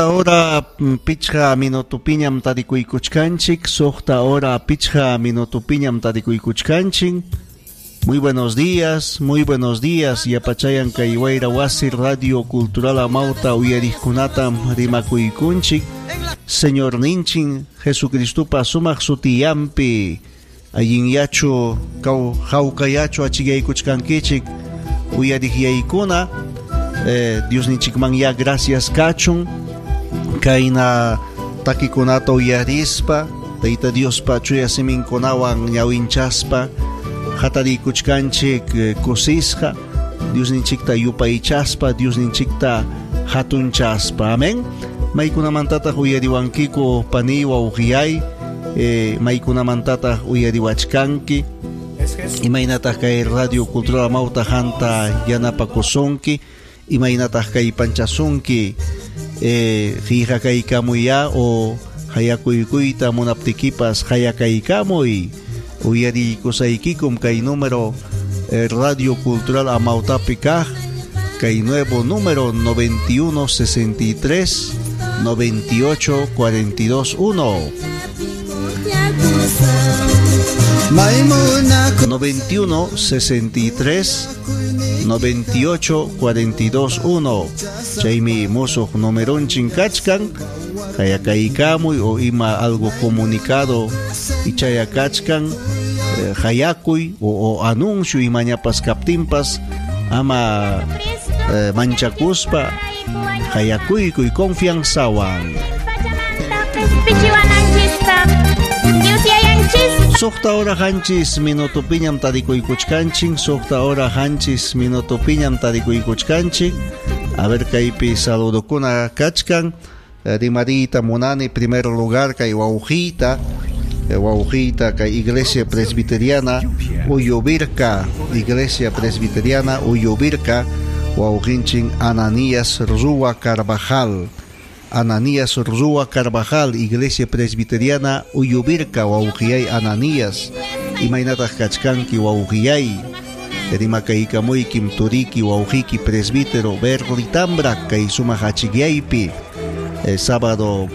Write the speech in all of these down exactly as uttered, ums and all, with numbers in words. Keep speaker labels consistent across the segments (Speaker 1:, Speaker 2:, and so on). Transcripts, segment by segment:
Speaker 1: Hora pichqa minutupiñam tarikuykuchkanchik, suqta hora pichqa minutupiñam tarikuykuchkanchik. Muy buenos días, muy buenos días. Yapachayan kay Wayra Wasi Radio Cultural Amauta uyariqkunatam rimakuykunchik. Señor Ninchin Jesucristupa sumaq sutiyampi allinyachu kaw hawkayachu achiyaykuchkankichik uyariqyaykuna. Eh, Dios ninchikman ya gracias kachun. Kayna takikunata uyarispa, Tayta Diospa chuya siminkunawan ñawinchaspa hatarikuchkanchik kusisqa, Dios ninchikta yupaychaspa, Dios ninchikta hatunchaspa. Amén. Maykunamantataq uyariwankiku pani wawqiyay, eh, maykunamantataq uyariwachkanki, imaynataq kay Radio Cultural Amauta hanta yanapakusunki, imaynataq kay panchasunki, eh, qillqakaykamuya o hayakuykuyta munaptikipas hayakaykamuy. Uyarikusaykikum kay número eh, Radio Cultural Amautapi kaq, kay nuevo número noventa y uno sesenta y tres noventa y ocho cuarenta y dos uno. noventa y uno sesenta y tres noventa y ocho cuarenta y dos uno. Chaymi musuq numeronchin kachkan, hayakaykamuy o ima algo comunicado ichayakachkan, eh, hayakuy o, o anuncio imañapas kaptinpas ama eh, manchakuspa hayakuykuy confianzawan. Suqta hora hanchis minutupiñam tarikuykuchkanchik, suqta hora hanchis minutupiñam tarikuykuchkanchik. A ver kaypi saludokuna kachkan. Rimarita munani primer lugar kay wawqiyta, wawqiyta kay Iglesia Presbiteriana Uyuvirka, Iglesia Presbiteriana Uyuvirka, wawqinchin Ananías Rúa Carvajal. Ananías Rúa Carvajal, Iglesia Presbiteriana Uyuvirka, wawqiyay Ananías. Imaynataq kachkanki wawqiyay? Rimakaykamuykim turiki wawqiki presbítero Berlitambra kay sumaq achikyaypi. Eh, sábado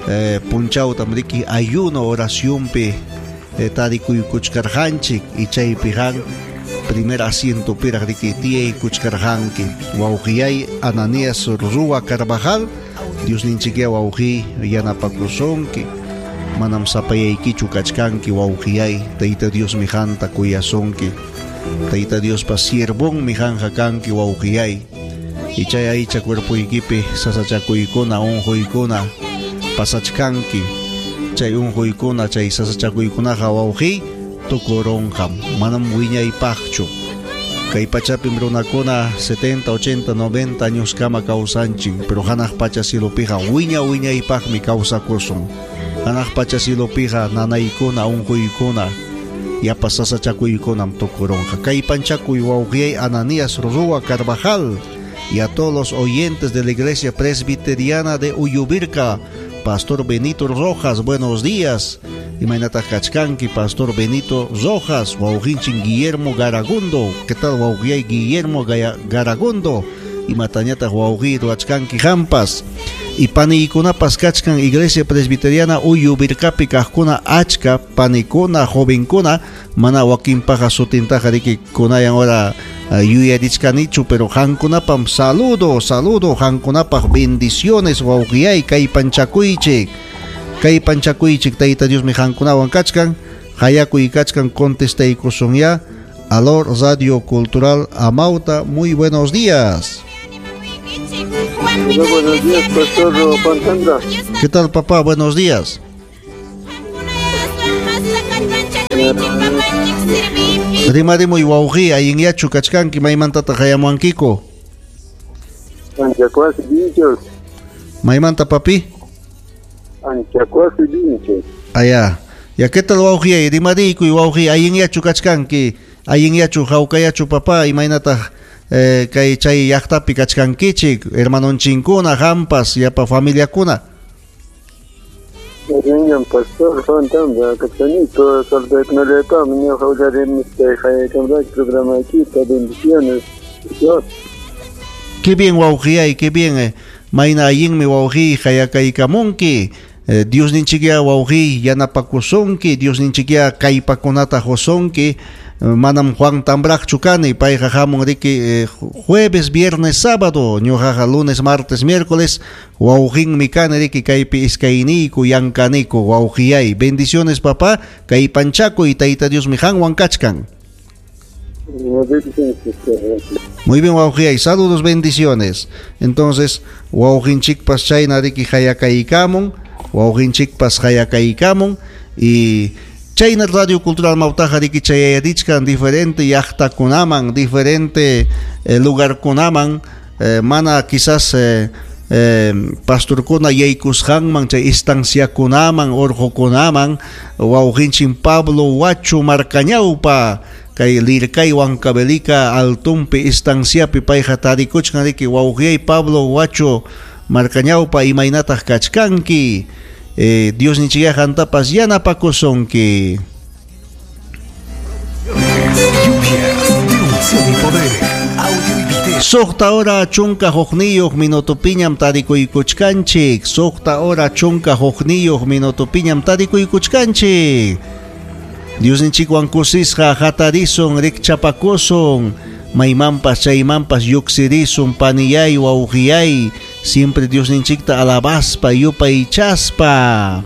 Speaker 1: eh, punchawtam riki ayuno oracionpi eh, tarikuykuchkarqanchik y chaypi han primer asiento piraq riki tiyaykuchkarqanki. Wawqiyay Ananías Rúa Carvajal, Dios ninchikya wawqi yanapakusunki, manam sapayaykichu kachkanki wawqiyay, Tayta Dios mijanta kuyasunki, Tayta Diospa siervon mijanja kanki wawqiyay. Ichay aycha cuerpuykipi sasachakuykuna unquykuna pasachkanki, chay unquykuna chay sasachakuykunaqa wawqi tukurunqam, manam wiñaypaqchu. Kay pachapim runakuna setenta, ochenta, noventa años kama kawsanchin, pero hanaq pacha cielopija wiña wiñaypaqmi kawsakusun. Hanaq pacha cielopija nanaykuna unquykuna yapa sasachakuykunam tukurunqa. Kay panchakuy wawqiyay Ananías Rúa Carvajal y a todos los oyentes de la Iglesia Presbiteriana de Uyuvirka, Pastor Benito Rojas, buenos días. Imaynataq kachkanki, Pastor Benito Rojas, wawqinchin Guillermo Garagundo. ¿Qué tal, wawqiyay Guillermo Garagundo? Imatañataq wawqiy ruwachkanki hampas. Y paniykunapas kachkan Iglesia Presbiteriana Uyuvirkapi kaqkuna achka panikuna jovenkuna, mana wakinpaqa sutintaqa riki kunayan hora yuyarichkanichu, pero hankunapam saludo, saludo, hankunapaq bendiciones wawqiyay kay panchakuychik. Kay panchakuychik Tayta Dios mi hankunawan kachkan, hayakuy kachkan contestaykusunya. Alor Radio Cultural Amauta, muy buenos días.
Speaker 2: Hola, buenos días, Pastor Juan Tanda.
Speaker 1: ¿Qué tal, papá? Buenos días. Rimarimuy wawqi, allinyachu kachkanki, maymantataq hayamuankiku?
Speaker 2: Anchacuasi Vinchos.
Speaker 1: Maymanta, papi?
Speaker 2: Anchacuasi Vinchos.
Speaker 1: Allá. Ya, ¿qué tal, wawqi? Rimariykuy, wawqi, allinyachu kachkanki, allinyachu hawkayachu, papá, imaynataq eh, kay chay llaqtapi kachkankichik, hermanonchinkuna, hampas, yapa familiakuna?
Speaker 2: Niñam Pastor Juan Tanda, kachkanito, saludaykunallaypaq, ñuqa uyarimistay haykamraki programakita, bendiciones. Dios.
Speaker 1: Qué bien, wawqiyay, qué bien. Eh. Mayna allinmi wawqiy hayakaykamunki. Eh, Diosninchikya wawqiy yanapakusunki, Diosninchikya kallpakunata qusunki. Manam Juan Tambraqchu kani, payqa hamun riki eh, jueves, viernes, sábado, ñuqaqa lunes, martes, miércoles, wawqinmi kani riki kaypi iskayniyku yankaniku wawqiyay. Bendiciones papá, kay panchakuy Tayta Diosmi qanwan kachkan. Muy bien, wawqiyay, saludos, bendiciones. Entonces, wawqinchikpas chayna riki hayakaykamun, wawqinchikpas hayakaykamun y chayna Radio Cultural Mawtaqa riki chayarichkan diferente llaqtakunaman, diferente eh, lugarkunaman, eh, mana quizás eh, eh, pastorkuna yaykusqanman, chay estanciakunaman, urqukunaman, wawqinchin Pablo Huacho Marcañawpa, kay Lircay Huancavelica altumpi estanciapi payqa tarikuchkan riki wawqiyay Pablo Huacho Marcañawpa imaynataq kachkanki. Eh, Diosninchikya qantapas yanapakusunki. Suqta hora chunka hukniyuq minutupiñam tarikuykuchkanchik. Suqta hora chunka hukniyuq minutupiñam tarikuykuchkanchik. Diosninchikwan kusisqa hatarisun, rikchapakusun, maymanpas chaymanpas lluqsirisun, paniyay, wawqiyay, siempre Diosninchikta alabaspa, yupaychaspa.